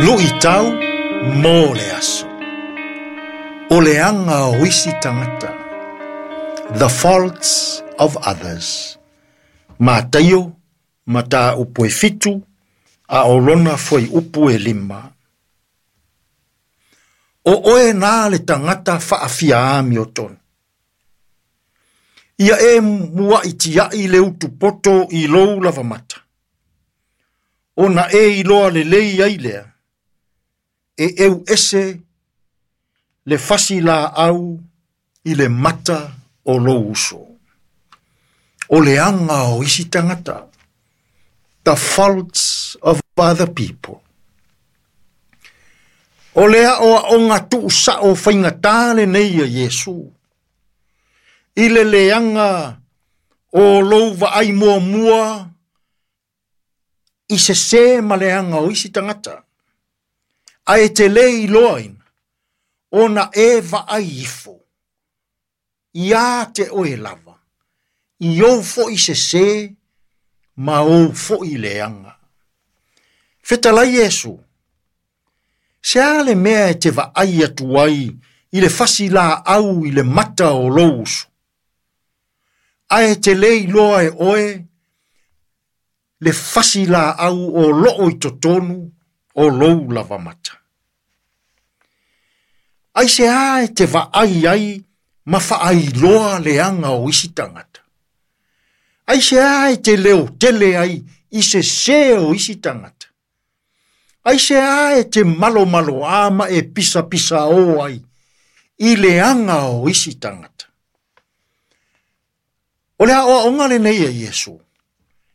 Luitau mo le aso. O le aga o isi tagata. The faults of others. Mataio, mataupu e 7, a o lona fuaiupu e 5. O oe nā le tagata faafia amiotonu. Ia e muaʻi tiaʻi le utupoto i lou lavamata. Ona e iloa lelei ai lea, e eu ese le fasi laau i le mata o lou uso. O le aga o isi tagata. The faults of other people. O le aoaoga tuusao faigatā lenei a Iesu. I le leaga o lou vaai muamua i sesē ma le aga o isi tagata. Ae te le iloaina ona e vaai ifo ia te oe lava, i ou foʻi sesē ma ou foʻi leaga. Fetalai Iesu, se a le mea e te vaai atu ai i le fasi laau i le mata o lou uso. Ae te le iloa e oe le fasi laau o loo i totonu o lou lavamata. Aisea e te vaai ai ma faailoa leaga o isi tagata. Aisea e te leotele ai i sesē o isi tagata. Aisea e te malomaloā ma e pisapisaō ai i leaga o isi tagata. O le aoaoga lenei a Iesu,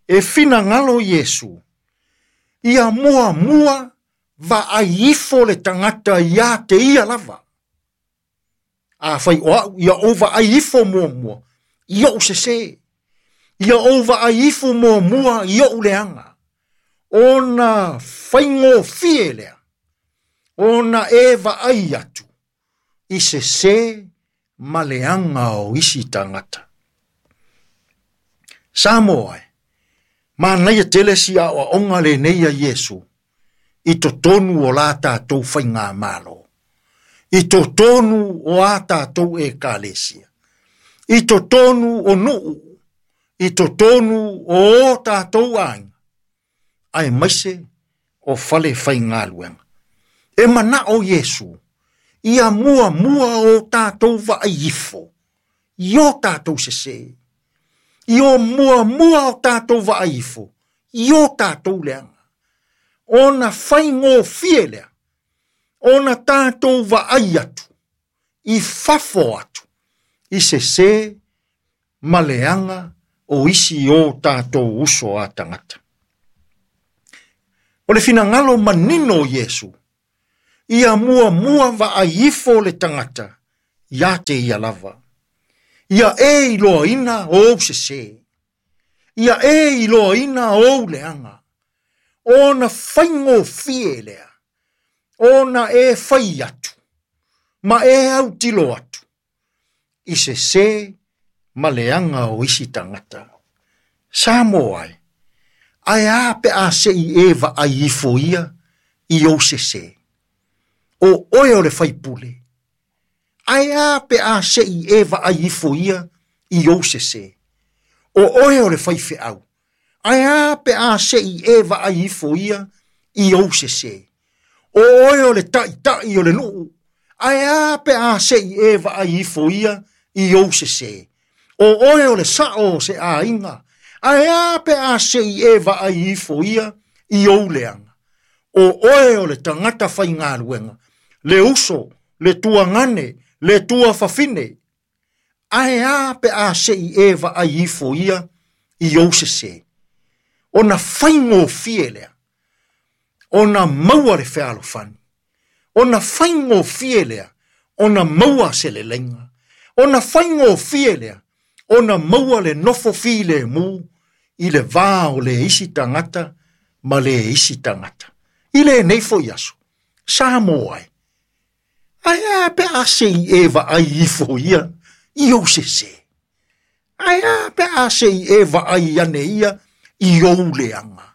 e finagalo Iesu, ia muamua vaai ifo le tagata ia te ia lava. Afai o au, ia ou vaai ifo muamua, i ou sesē. Ia ou vaai ifo muamua i ou leaga. Ona faigofie lea, ona e vaai atu i sesē ma leaga o isi tagata. Samoa e, manaia tele si aoaoga lenei a Iesu i totonu o la tatou faigamalo, i totonu o a tatou ekalesia, i totonu o nuu, i totonu o o tatou aiga, aemaise o fale faigaluega. E manao Iesu, ia muamua o tatou vaai ifo, i o tatou sesē, i o muamua o tatou vaai ifo, i o tatou leaga. Ona faigofie lea, ona tatou vaai atu, i fafo atu, i sesē ma leaga o isi o tatou uso a tagata. O le finagalo manino o Iesu, ia muamua vaai ifo le tagata ia te ia lava. Ia e iloaina ou sesē. Ia e iloaina ou leaga. Ona faigofie lea, ona e fai atu, ma e autilo atu, i sesē ma leaga o isi tagata. Samoa e, ae a pe a sei e vaai ifo ia i ou sesē. O oe o le faipule, ae a pe a sei e vaai ifo ia i ou sesē. O oe o le faifeau, ae a pe a sei e vaai ifo ia i ou sesē. O oe o le ta'ita'i o le nuu, ae a pe a sei e vaai ifo ia i ou sesē. O oe o le sao o se aiga, ae a pe a sei e vaai ifo ia i ou leaga. O oe o le tagata faigaluega, le uso, le tuagane, le tuafafine, ae a pe a sei e vaai ifo ia i ou sesē. Ona faigofie lea, ona maua le fealofani. Ona faigofie lea, ona maua se leleiga. Ona faigofie lea, ona maua le nofo filemu i le va o le isi tagata ma le isi tagata. I lenei foʻi aso, Samoa e, ae a pe a sei e vaai ifo ia i ou sesē. Ae a pe a sei e vaai ane ia i ou leaga.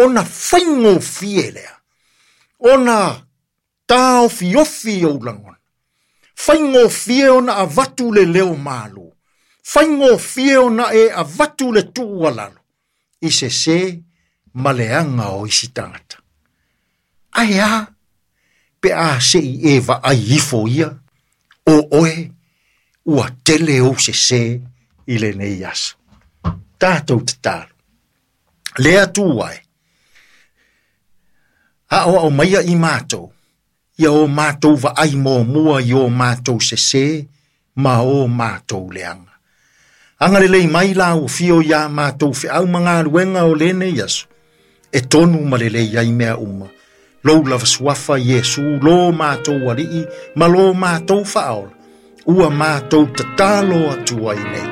Ona faigofie lea, Ona taofiofi ou lagona. Faigofie ona avatu le leo malu. Faigofie ona e avatu le tuualalo i sesē ma leaga o isi tagata. Ae a pe a se i e vaai ifo ia, o oe ua tele ou sesē i lenei aso. Tatou tatalo. Le Atua e, aoao maia i matou, ia o matou vaai muamua i o matou sesē ma o matou leaga. Agalelei mai lau afio iā matou feau ma galuega o lenei aso, e tonu ma lelei ai mea uma. Lou lava suafa Iesu, lo matou Alii ma lo matou Faaola, ua matou tatalo atu ai nei.